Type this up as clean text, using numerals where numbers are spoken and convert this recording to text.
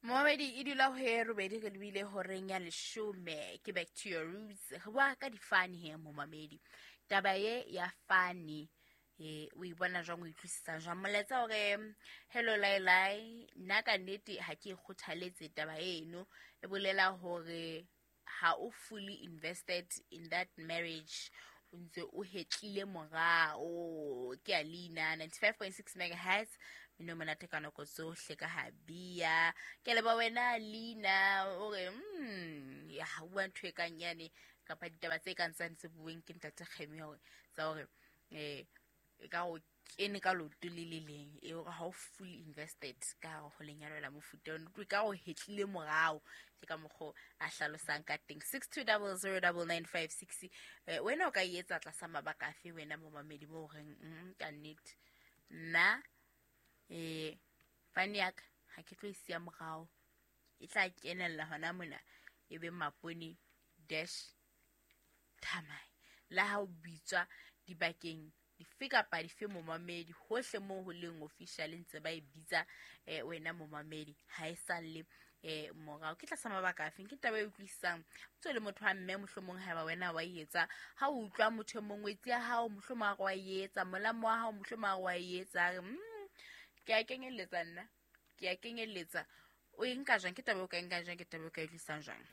Momamedi e dula ho e robedi re lebile horeng ya leshome ke back to your roots. Re bua ka difane he momamedi. Taba ye ya fane o e bona jwang, o utlwisisa jwang? Molaetsa hore hello lai lai, nna ka nnete ha ke e kgothaletse taba eno. E bolela hore ha o fully invested in that marriage, o ntse o hetlile morao. Ke a leina 95.6 megahertz, mmino monate ka nako tsohle ka habia. Ke leba wena leina o re ya ha bua ntho e kang yane kapa ditaba tse kang tsane tse bueng ke ntate Kgemi hore tsa hore e ka o kene ka loto le le leng e hore ha o fully invested ka hare ho lenyalo la mofuta ono, e ka o hetlile morao. Ke ka mokgo a hlalosang ka teng. 62009956, wena o ka e etsa tlasa mabaka afe wena momamedi mo horeng ka nnete nna fane ya ka ha ke tlo e siya morao, e tla kenella hona mona e be mapone dash thamai la ha o bitswa dibakeng dife kapa dife momamedi hohle moo ho leng official ntse ba e bitsa wena momamedi ha e salle morao. Ke tlasa mabaka afeng? Ke taba e utlwisisang ntse le motho wa mme mohlomong haeba wena wa e etsa, ha o utlwa motho e mongwe ngwetsi ya hao mohlomong a re wa e etsa, molamo wa hao mohlomong a re wa e etsa, a re ke a kenyelletsa nna, ke a kenyelletsa. O e nka jwang? Ke taba e o ka e nkang jwang? Ke taba e o ka e utlwisisang jwang?